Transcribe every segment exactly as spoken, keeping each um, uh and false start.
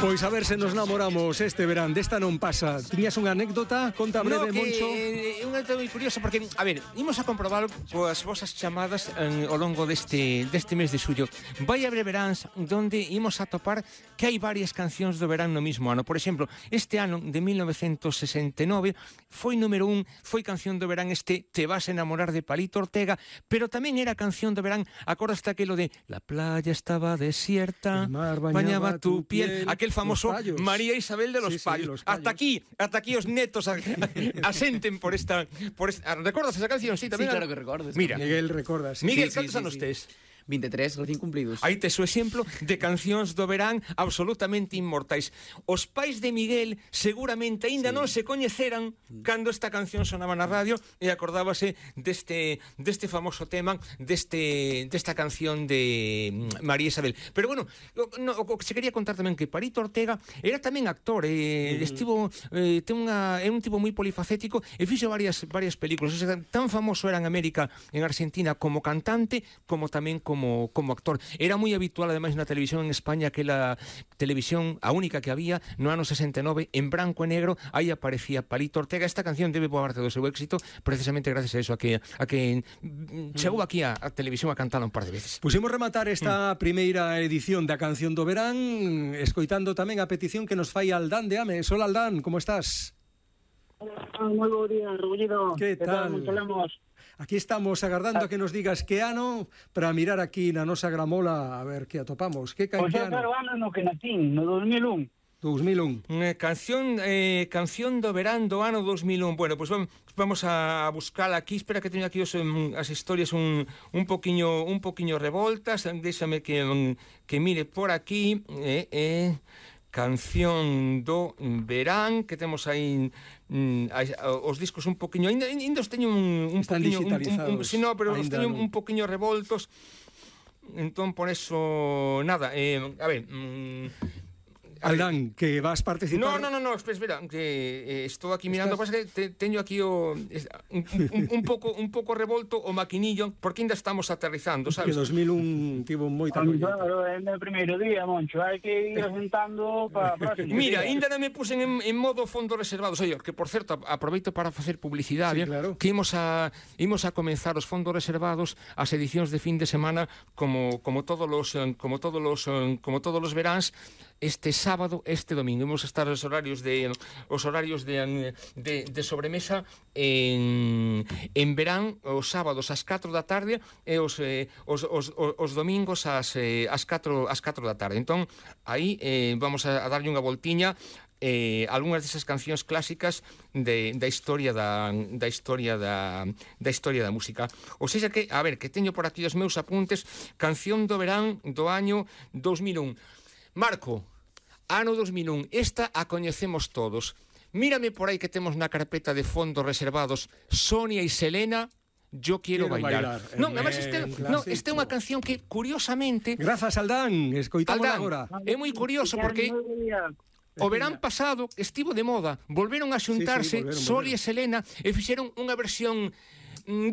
Pois a ver se nos namoramos este verán. Desta non pasa. Tiñas unha anécdota? Conta breve, no, que, Moncho. É eh, unha anécdota moi curiosa porque, a ver, imos a comprobar coas vosas chamadas en, ao longo deste, deste mes de xullo. Vai haber veráns donde imos a topar que hai varias cancións do verán no mismo ano. Por exemplo, este ano de mil novecentos sesenta e nove foi número un, foi canción do verán este Te vas a enamorar de Palito Ortega, pero tamén era canción do verán, acordaste aquilo de La playa estaba desierta, bañaba, bañaba tu piel, piel, aquel famoso María Isabel de los sí, Payos. Sí, los hasta aquí, hasta aquí os netos a, a, asenten por esta, por esta... ¿Recordas esa canción? Sí, tamén. Sí, claro que recordes. Mira, Miguel recorda, sí. Miguel, Sí, sí, cantos sí, anos sí. tes? vinte e tres, recién cumplidos. Aí tes o exemplo de cancións do verán absolutamente inmortais. Os pais de Miguel seguramente aínda sí. non se coñeceran cando esta canción sonaba na radio e acordábase deste, deste famoso tema, deste, desta canción de María Isabel. Pero bueno, o, no, o que se quería contar tamén que Palito Ortega era tamén actor, eh, mm. estivo, eh, ten unha, é un tipo moi polifacético e fixo varias, varias películas. O sea, tan famoso era en América, en Argentina, como cantante, como tamén como Como, como actor. Era moi habitual, ademais, na televisión en España, que la televisión, a única que había, no ano sesenta e nove, en branco e negro, aí aparecía Palito Ortega. Esta canción debe boa parte do seu éxito, precisamente gracias a eso, a que, a que chegou aquí a, a televisión a cantar un par de veces. Pusimos rematar esta mm. primeira edición da canción do verán, escoitando tamén a petición que nos fai Aldán de Ames. Hola, Aldán, como estás? Moi bo día, Rubullido. Que tal? Aquí estamos agardando a que nos digas que ano para mirar aquí na nosa gramola a ver que atopamos. Que pois canción? Pois é, ano no que natín, no dos mil un. dos mil un. Eh, canción, eh, canción do verán do ano dos mil un. Bueno, pois pues vamos a buscar aquí. Espera que teño aquí os, um, as historias un, un poquiño un poquiño revoltas. Déxame que, um, que mire por aquí. Eh, eh, canción do verán, que temos aí mm, os discos un poquiño, ainda, ainda os teño un, un Están poquiño, digitalizados. un, un, si no, pero os teño non. un poquiño revoltos. Entón, por eso, nada, eh, a ver... Mm, Aldán, que vas participar... No, no, no, no, espera, que eh, estou aquí mirando, pasa que te, teño aquí o un, un, un pouco un pouco revolto o maquinillo, porque ainda estamos aterrizando, sabes? Que dos mil un tivo moita collita. Claro, é o primeiro día, Moncho, hai que ir asentando para a próxima. Mira, ainda non me pusen en, en modo fondos reservados. Oye, que por certo, aproveito para facer publicidade, sí, claro. que imos a imos a comenzar os fondos reservados, as edicións de fin de semana, como como todos os como todos os como todos os veráns, este sábado, este domingo. Imos a estar os horarios de os horarios de, de, de sobremesa en, en verán, os sábados ás catro da tarde e os, eh, os, os, os domingos ás, eh, ás, catro, ás catro da tarde. Entón, aí eh, vamos a, a darlle unha voltiña eh, algunhas desas cancións clásicas de, da historia da, da historia da, da historia da música. Ou seja que, a ver, que teño por aquí os meus apuntes, canción do verán do año dos mil un. Marco, ano dos mil un, esta a coñecemos todos. Mírame por aí que temos na carpeta de fondos reservados Sonia e Selena, Yo quiero, quiero bailar. bailar. Non, además este, no, este é unha canción que, curiosamente... Grazas, Aldán, escoitamos agora. É moi curioso porque o verán pasado estivo de moda, volveron a xuntarse sí, sí, volveron, Sol volveron. e Selena e fixeron unha versión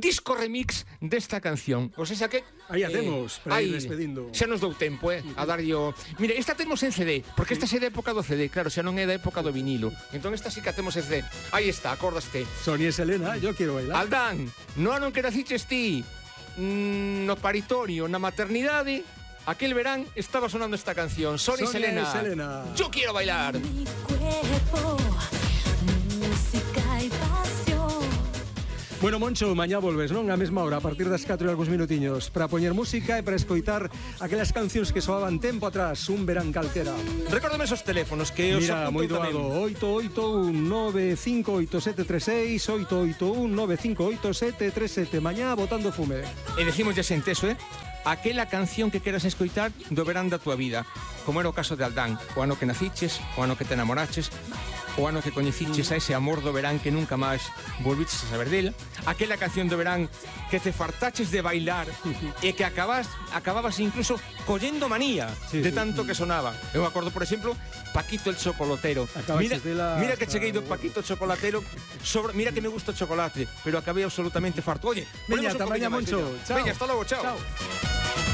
disco remix desta canción. O sea que aí a temos, eh, para ir despedindo. Xa nos dou tempo, eh, a darlle o... Mira, esta temos en C D, porque esta é da época do C D, claro, xa non é da época do vinilo. Entón esta sí que a temos en C D. Aí está, acordaste. Sonia e Selena, Yo quiero bailar. Aldán, no ano que naciches ti, no paritorio, na maternidade, aquel verán estaba sonando esta canción. Sonia e Selena, Selena, Yo quiero bailar. Mi cuerpo, música y pasión. Bueno, Moncho, mañá volves, non? A mesma hora, a partir das catro e algúns minutiños, para poñer música e para escoitar aquelas cancións que soaban tempo atrás, un verán calquera. Recórdame esos teléfonos que os Mira, moi doado, oito oito un nove cinco oito sete tres seis, oito oito un nove cinco oito sete tres sete, mañá botando fume. E decimos ya senteso, eh? Aquela canción que queras escoitar do verán da tua vida, como era o caso de Aldán, o ano que naciches, o ano que te enamoraches, o ano que coñeciches a ese amor do verán que nunca máis volviches a saber dela, aquela canción do verán que te fartaches de bailar e que acabas, acababas incluso collendo manía sí, de sí, tanto sí. que sonaba. Eu me acordo, por exemplo, Paquito el chocolatero. Mira, mira que cheguei do Paquito chocolatero, sobre, mira que me gusta o chocolate, pero acabei absolutamente farto. Oye, veña, ata mañá, Moncho. Veña, hasta logo, chao. Chao.